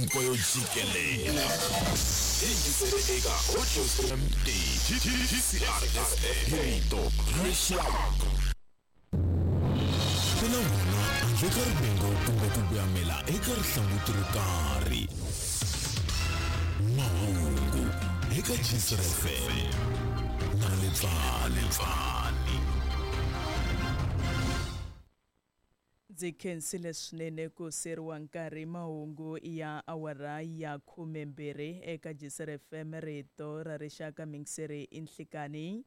Hinkwayo jikelela. Yingisele eka Audio MD GCRFM hi rito rixaka. Ku na wona handle ka rivengo kumbe ku voyamela eka rihlanguti ro karhi. Mahungu eka GCR FM na Letsane. Ndzi khensile swinene ku seriwa nkarhi. Mahungu ya awara ya 12 eka GCR FM, rito ra rixaka. Mingiseri i nhlikani.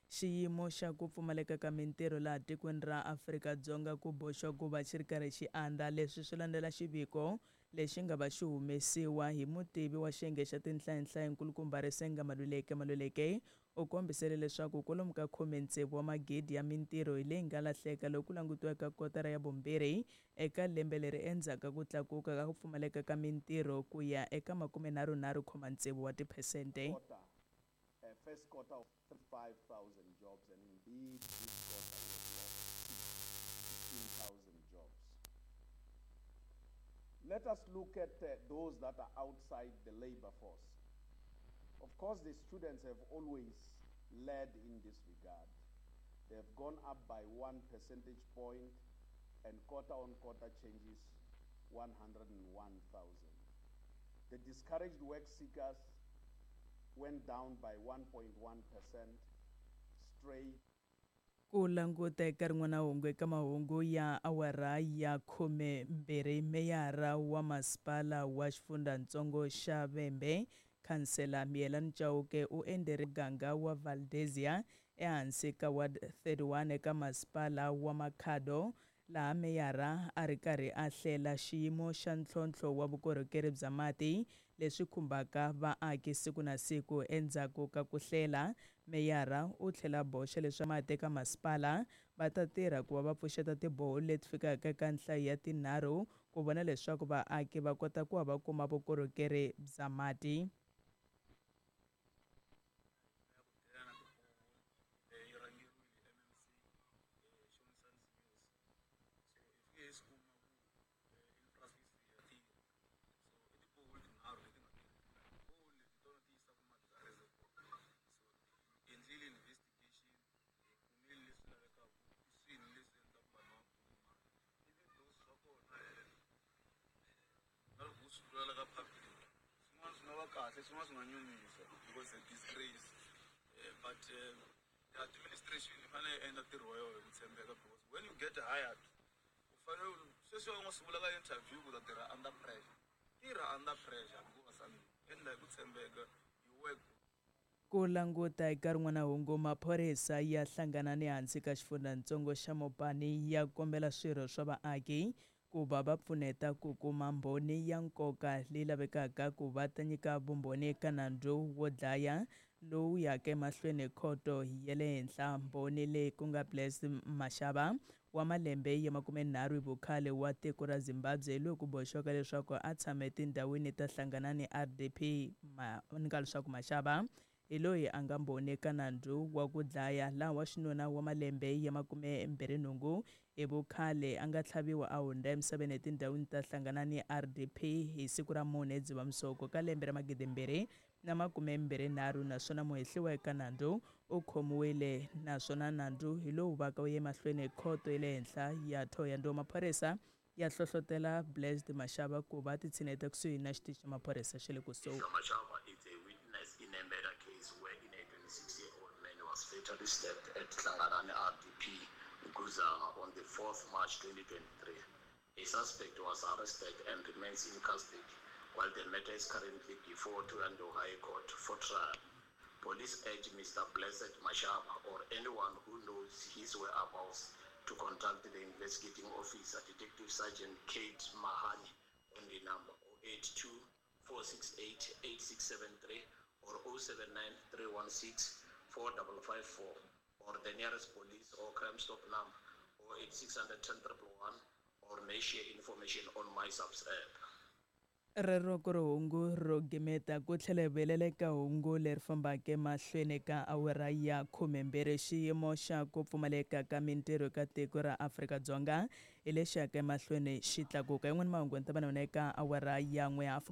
Xiyimo xa ku pfumaleka ka mintirho laha tikweni ra Afrika-Dzonga ku boxiwa ku va xi ri karhi xi andza. Leswi swi landzela xiviko lexi nga va xi humesiwa hi mutivi wa xiyenge xa tinhlayinhlayi nkulukumba Risenga Maluleke. Maluleke u kombisele leswaku kwalomu ka 16 wa magidi ya mintirho hi leyi nga lahleka loko ku langutiwaka kotara ya vumbirhi eka lembe leri, endzhaku ka ku tlakuka ka ku pfumaleka ka mintirho ku ya eka 33.6 wa tiphesente. First quarter of 5,000 jobs, and indeed this quarter we have lost 16,000 jobs. Let us look at those that are outside the labor force. Of course, the students have always led in this regard. They have gone up by 1 percentage point, and quarter on quarter changes 101,000. The discouraged work seekers went down by 1.1% straight. Ku languta eka rin'wana hungu eka mahungu ya awara ya 12, meyara wa masipala wa xifundzhantsongo xa Vhembe, khansela Miyelani Chauke, u endzele muganga wa Valdezia ehansi ka Ward 31 eka masipala wa Makhado, laha meyara a ri karhi a hlela xiyimo xa ntlhontlho wa vukorhokeri bya mati leswi khumbaka vaaki siku na siku. Endzhaku ka ku hlela, meyara u tlhela boxa leswaku mati eka masipala va ta tirha ku va va pfuxeta tiboholi leti fikaka eka nhlayo ya tinharhu ku vona leswaku vaaki va kota ku va va kuma vukorhokeri bya mati. Kahle, swin'wana swi nga nyumisa because a disgrace, but the administration yi fanele yi endla ntirho wa yona hi ku tshembeka, because when you get hired, u fanele sweswi u nga swi vula ka interview ku ta tirha under pressure. Tirha under pressure hikuva endla hi ku tshembeka, you work. Ku languta eka rin'wana hungu, maphorisa ya hlangana ni hansi ka xifundzhantsongo xa Mopani ya kombela swirho swa vaaki ku va va pfuneta ku kuma mbhoni ya nkoka leyi lavekaka ku va ta nyika vumbhoni eka nandzu wo dlaya lowu yaka emahlweni khoto ya le henhla. Mbhoni leyi ku nga Blessed Mashaba wa malembe ya 30 hi vukhale wa tiko ra Zimbabwe, loyi ku boxiwaka leswaku a tshama etindhawini ta Hlanganani RDP. Ni nga leswaku Mashaba hi loyi a nga mbhoni eka nandzu wa ku dlaya laha wa xinuna wa malembe ya 28 hi vukhale a nga tlhaviwa a hundza emisaveni etindhawini ta Hlanganani RDP hi siku ra 4 Dzivamisoko ka lembe ra 2023, naswona muhehliwa eka nandzu u khomiwile, naswona nandzu hi lowu vaka wu ye mahlweni khoto ya le henhla ya Thohoyandou. Maphorisa ya hlohlotela Blessed Mashaba ku va titshineta kusuhi na xitichi xa maphorisa xa le kusuhi. Mashaba is a witness in a murder case wherein a 26-year-old man was fatally stabbed at Hlanganani RDP Nguzana on the 4th March 2023. A suspect was arrested and remains in custody while the matter is currently before Thohoyandou High Court for trial. Police urge Mr. Blessed Mashaba or anyone who knows his whereabouts to contact the investigating officer, Detective Sergeant Kate Mahani, on the number 082 468 8673 or 079 316 4554, or the nearest police or Crime Stop number 08600 10 111, or may share information on MySAPS app. Rero ku ri hungu ro gimeta ku tlhela hi vuyelela eka hungu leri fambaka emahlweni ka awara ya 12. Xiyimo xa ku pfumaleka ka mintirho eka tiko ra Afrika-Dzonga hi lexi yaka emahlweni xi tlakuka. Yin'wana mahungu ni ta va na yona eka awara ya 1 hafu.